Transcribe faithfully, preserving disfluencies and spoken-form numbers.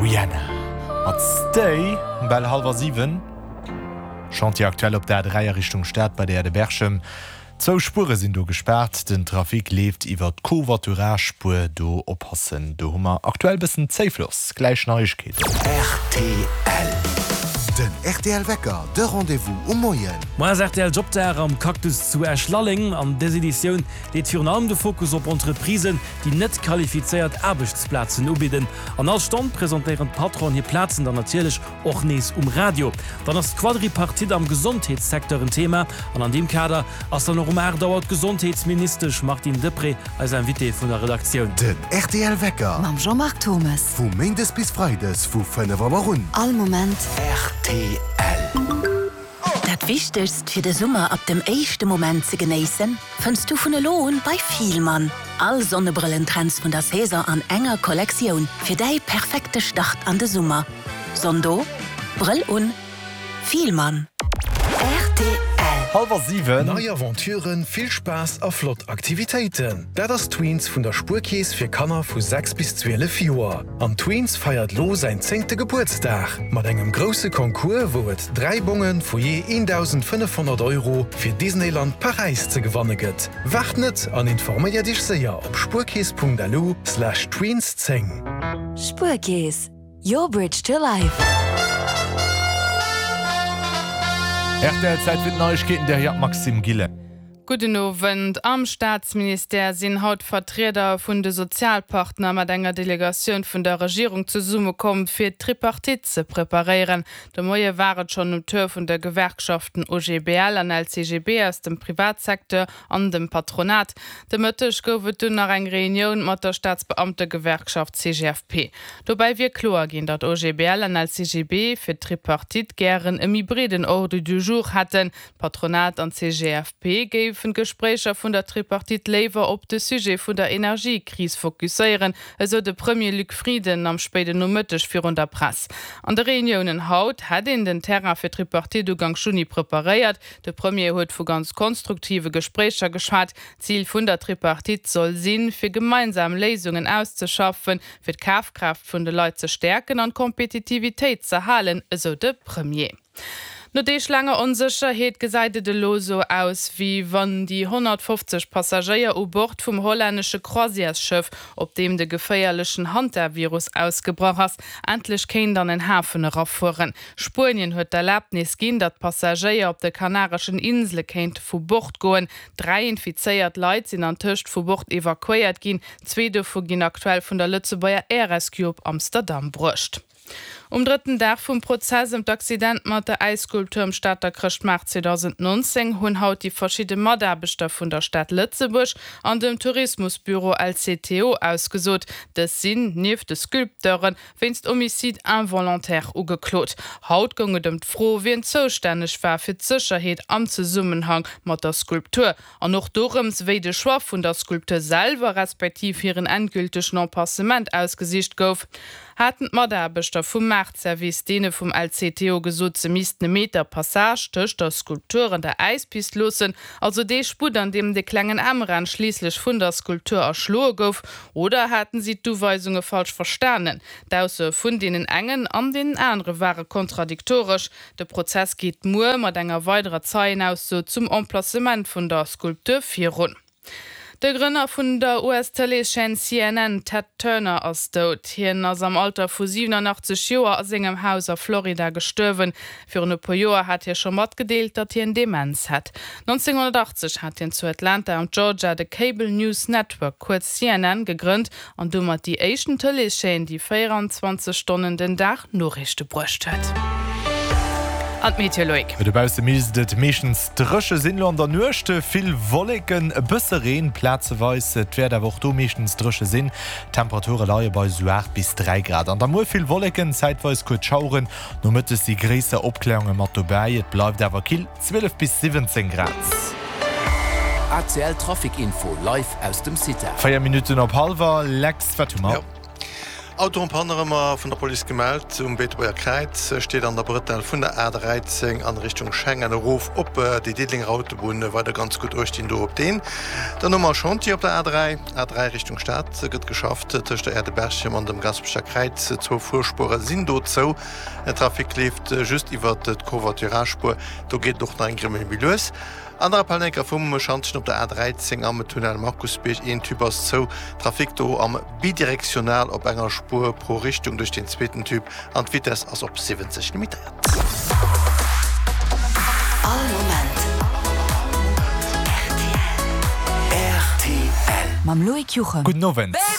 Rihanna mat Stay um bal hallwer siwen. Chantier aktuell op der A dräi a Richtung Stad bei der Aire de Berchem. Zwou Spuere sinn do gespaart, den Trafic leeft iwwer d'Covoiturage-Spuer. Do oppassen, do hu mer aktuell bëssen Zéifloss. Gläich Neiegkeeten. Rtl. Den rtl Wecker, de Rendez-vous um Moien. Moar ass rtl Jobdag am Cactus zu Esch-Lalleng. An dës Editioun leet virun allem de Fokus op Entreprisen, déi net qualifizéiert Aarbechtsplazen ubidden. An all Stonn presentéieren d'Patronen hir Plazen dann natierlech och nees um Radio. Dann ass d'Quadripartite am Gesondheetssecteur en Thema an an deem Kader ass dann och um aacht Auer d'Gesondheetsministesch Martine Deprez eis Invitée vun der Redaktioun. Den rtl Wecker Mam Jean-Marc Thomes. Vu Méindes bis Freides vu fënnef Auer un. All Moment. Rtl. Dat Wichtegst fir de Summer ab dem éischte Moment ze genéissen, fënns du vun elo un bei Fielmann. All Sonnebrëllentrends vun der Saison an enger Kollektioun fir däi perfekte Start an de Summer. Sonn do, Brëll un, Fielmann. Rtl. Hallwer siwen. Nei Aventuren, vill Spaass a flott Aktivitéiten, dat ass Tweens vun der Spuerkeess fir Kanner vu sechs bis zwielef Joer. An Tweens feiert lo säin zéngte Gebuertsdag mat engem grousse Concours, wou et dräi Bonge vu jee eendausendfënnefhonnert Euro fir Disneyland Paräis ze gewanne gëtt. Waart net an informéier dech séier op spuerkeess punkt lu slash tweens zéng. Spuerkeess, your bridge to life. Rtl, Zäit fir d'Neiegkeeten, der Här Maxime Gillen. Gudden Owend. Am Staatsministère sinn haut Vertrieder vun de Sozialpartner mat enger Delegatioun vun der Regierung zesummekomm, fir d'Tripartite ze preparéieren. De Moie war et schonn um Tour vun de Gewerkschaften O G B L an L C G B aus dem Privatsecteur an dem Patronat. De Mëtteg gouf et dunn nach eng Reunioun mat der Staatsbeamtegewerkschaft C G F P. Dobäi wier kloer ginn, datt O G B L an L C G B fir d'Tripartite gären e méi breeden Ordre du jour hätten. Patronat an C G F P géifen d'Gespréicher vun der Tripartite léiwer op de Sujet vun der Energiekris fokusséieren, esou de Premier Luc Frieden am spéiden Nomëtteg virun der Press. An de Reuniounen haut hätt een den Terrain fir d'Tripartite Ugank Juni preparéiert. De Premier huet vu ganz konstruktive Gespréicher geschwat. Zil vun der Tripartite soll sinn, fir gemeinsam Léisungen auszeschaffen, fir d'Kafkraaft vun de Leit ze stäerken an d'Kompetitivitéit ze halen, esou de Premier. No deeglaanger Onsécherheet gesäit et elo sou aus, wéi wann déi honnertfofzeg Passagéier u Bord vum hollännesche Croisièresschëff, op deem de geféierlechen Hantavirus ausgebrach ass, endlech kéint an en Hafen erafueren. Spuenien huet d'Erlabnis ginn, datt d'Passagéier op de Kanareschen Insele kéinte vu Bord goen. Dräi infizéiert Leit sinn antëscht vu Bord evakuéiert ginn, zwee dovu ginn aktuell vun der Lëtzebuerger Air Rescue op Amsterdam bruecht. Um drëtten Dag vum Prozess ëm d'Accident mat der Äisskulptur um Stater Chrëschtmaart zweedausendnonzéng hunn haut déi verschidde Mataarbechter vun der Stad Lëtzebuerg an dem Tourismusbüro L C T O ausgesot. Dës sinn, nieft de Sculpteuren, wéinst Homicide involontaire ugeklot. Haut goung et ëm d'Fro, wien zoustänneg war fir d'Sécherheet am Zesummenhang mat der Skulptur an och dorëms, wéi de Choix vun der Skulptur selwer respektiv hiren endgültegen Emplacement ausgesicht gouf. Haten d'Mataarbechter vum Maartservice deene vum L C T O gesot, se missten e Meter Passage tëscht der Skulptur an der Äispist loossen, also dee Sputt, an deem de klengen Emran schliisslech vun der Skulptur erschloe gouf, oder haten si d'Uweisunge falsch verstanen? D'Aussoe vun deenen engen an deenen anere ware kontradiktoresch. De Prozess geet muer mat enger weiderer Zeienausso zum Emplacement vun der Skulptur virun. De Grënner vun der U S-Tëleeschaîne C N N, Ted Turner, ass dout. Hien ass am Alter vu siwenanachtzeg Joer a sengem Haus a Florida gestuerwen. Virun e puer Joer hat hie scho matgedeelt, datt hien Demenz hätt. nonzénghonnertachtzeg hat hien zu Atlanta am Georgia de Cable News Network, kuerz C N N, gegrënnt an domat déi éischten Tëleeschaîne, déi véieranzwanzeg Stonnen den Dag Noriichte bruecht huet. An d'Meteo, Loïc. Dobausse misst et meeschtens dréche sinn, lo an der Nuecht vill Wolleken, e bësse Reen plazeweis. Et wäert awer och do meeschtens dréche sinn. D'Temperature leie bei sou aacht bis dräi Grad. An da muer vill Wolleken, zäitweis kuerz Schaueren, nomëttes si gréisser Opkläerunge mat dobäi. Et bleift awer kill, zwielef bis siwwenzéng Grad. A C L Trafic Info live aus dem CITA. Véier Minutten op hallwer, Lex, wat hu mer? Jo. Auto en panne ëmmer vun der Police gemellt um Beetebuerger Kräiz, steet an der Brëtell vun der A dräizéng an Richtung Schengen erof op déi Diddelenger Autobunn. Weider ganz gutt uecht do op deen. Dann hu mer e Chantier op der A dräi, A dräi Richtung Stad gëtt geschafft tëscht der Aire de Berchem an dem Gaspecher Kräiz. Zwou Fuerspuere sinn do zou. Den Trafic leeft just iwwert d'Covoiturage-Spuer. Do geet et och nach eng Grimmel méi lues. An der Appell vum Schantjen op der A dräizéng am Tunnel Markusbierg, een Tube ass zou, Trafic do am bidirektional op enger Spuer pro Richtung duerch den zweeten Tube an d'Vitess ass op siwwenzeg limitéiert. All Moment rtl. Mam Loïc Juchem. Gudden Owend.